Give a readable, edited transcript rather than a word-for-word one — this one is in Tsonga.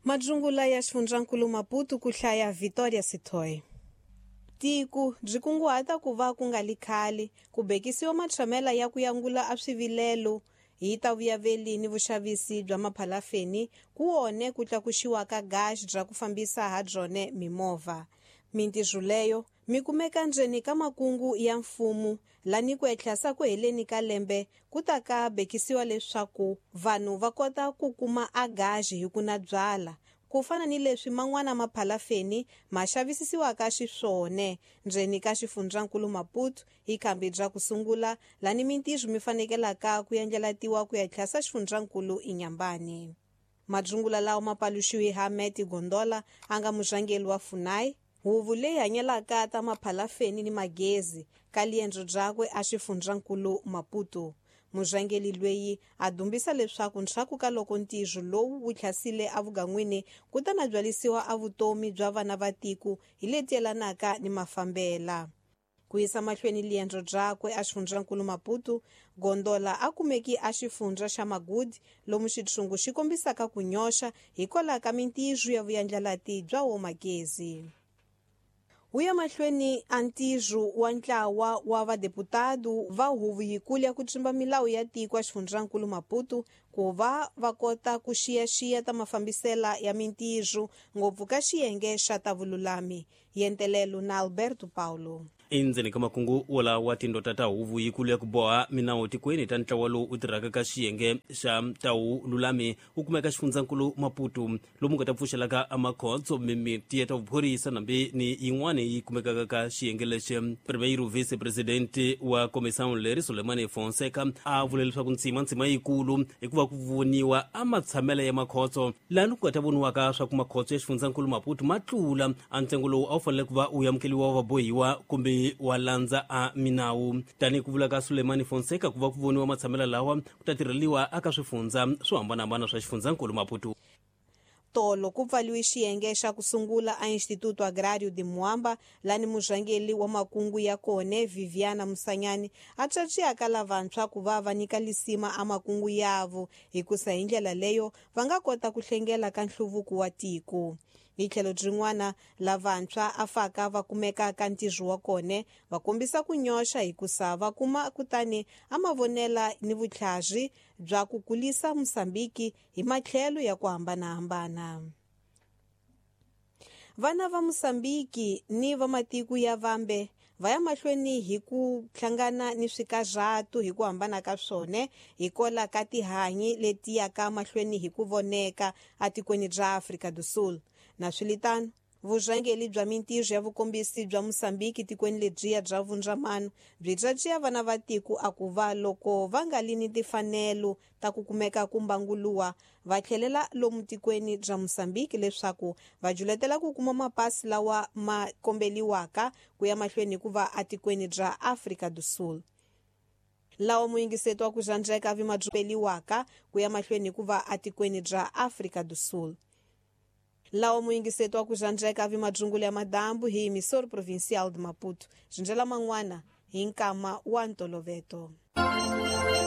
Madzungula ya xifundzankulu Maputo ku hlaya Victoria Sithoy. Tiku byi kunguhata ku va ku nga li khale ku bekisiwa matshamela ya ku yangula a swivilelo hi ta vuyaveli ni vuxavisi bya maphalafeni ku wone ku tlakuxiwa ka gas bya ku fambisa ha byone mimovha. Mintirho leyo mi kumeka ndzeni ka makungu ya mfumo lani ku etlhasa ku heleni ka lembe ku ta ka bekisiwa leswaku vanhu va kota ku kuma a gaji hi ku na byala ku fana ni leswi man'wana maphalafeni ma xavisisiwaka xiswone ndzeni ka xifundzankulu Maputo hi khambi bya ku sungula lani mintirho mi fanekelaka ku endlelatiwa ku ya tlhasa xifundzankulu Inyambani. Madzungula lawa ma paluxiwe ha Meti Gondola a nga murhangeri wa Funai huvo leyi hanyelaka ta maphalafeni ni magezi ka liendzo byakwe a xifundzankulu Maputo. Murhangeri loyi a dumbisa leswaku ndzhaku ka loko ntirho lowu wu tlhasile evugan'wini ku ta na byalisiwa a vutomi bya vana va tiko hi leti yelanaka ni mafambela. Ku yisa mahlweni liendzo byakwe a xifundzankulu Maputo, Gondola a kumeki a xifundza xa Magudi lomu xitshungu xi kombisaka ku nyoxa hikwalaho ka mintirho ya vuyandlalati bya wo magezi. Wu ya mahlweni a ntirho wa ntlawa wa vadeputado va huvo yikulu ya ku tsimba milawu ya tiko a xifundzankulu Maputo ku va va kota ku xiyaxiya ta mafambisela ya mintirho ngopfu ka xiyenge xa ta vululami. Yentelelo na Alberto Paulo. Endzeni ka makungu wolawa wa tindota ta huvo yikulu ya ku boha minawu tikweni ta ntlawa lowu u tirhaka ka xiyenge xa tawu lulami wu kumeka xifundzankulu Maputo lomu nga ta pfuxelaka amakhotso mimiti ya ta vuphorisa nambi ni yin'wana yi kumekaka ka xiyenge lexi. Primeiro vice-presidente wa comissão leri Sulemani Fonseca a vule leswaku ntsima yikulu hikuva ku voniwa a matshamelo ya makhotso lani ku nga ta voniwaka swa ku makhotso ya xifundzankulu Maputo ma tlula a ntsengo lowu a wu fanele ku va wu amukeliwa wa vabohiwa kumbe wa landza a minawu. Tanihi ku vula ka Sulemani Fonseca ku va ku voniwa matshamelo lawa ku ta tirheliwa aka swifundza swo hambanahambana swa xifundzankulu Maputo. Tolo ku pfaliwe xiyenge xa ku sungula a Instituto Agrário de Moamba lani murhangeri wa makungu ya kone Viviana Musanyani a tswatswiyaka lavantshwa ku va va nyika lisima a makungu yavo hikusa hi ndlela leyo va nga kota ku hlengela ka nhluvuko wa tiko. Hi tlhelo byin'wana lavantshwa a faka va kumeka ka ntirho wa kone va kombisa ku nyoxa hikusa va kuma kutani a mavonela ni vutlhari bya ku kulisa Mosambiki hi matlhelo ya ku hambanahambana. Vana va Mosambiki ni va matiko ya vambe va ya mahlweni hi ku hlangana ni swikarhatu hi ku hambana ka swona hikwalaho ka tihanyi leti yaka mahlweni hi ku voneka etikweni ra Afrika do Sul. Na swilitano vurhangeri bya mintirho ya vukombisi bya Mosambiki tikweni lebyiya bya vundzamano byi tswatswiya vana va tiko a ku va loko va nga li ni timfanelo ta ku kumeka ku mbanguluwa va tlhelela lomu tikweni bya Mosambiki leswaku va juletela ku kuma mapasi lawa ma kombeliwaka ku ya mahlweni hikuva etikweni bya Afrika do Sul. Lawa muyingiseto wa ku xandzeka vi madzupeliwaka ku ya mahlweni hikuva etikweni bya Afrika do Sul. Lawa muyingiseto wa ku xandzeka vi madzungula ya madambu hi Emissor Provincial de Maputo. Xindlela man'wana hi nkama wa ntoloveto.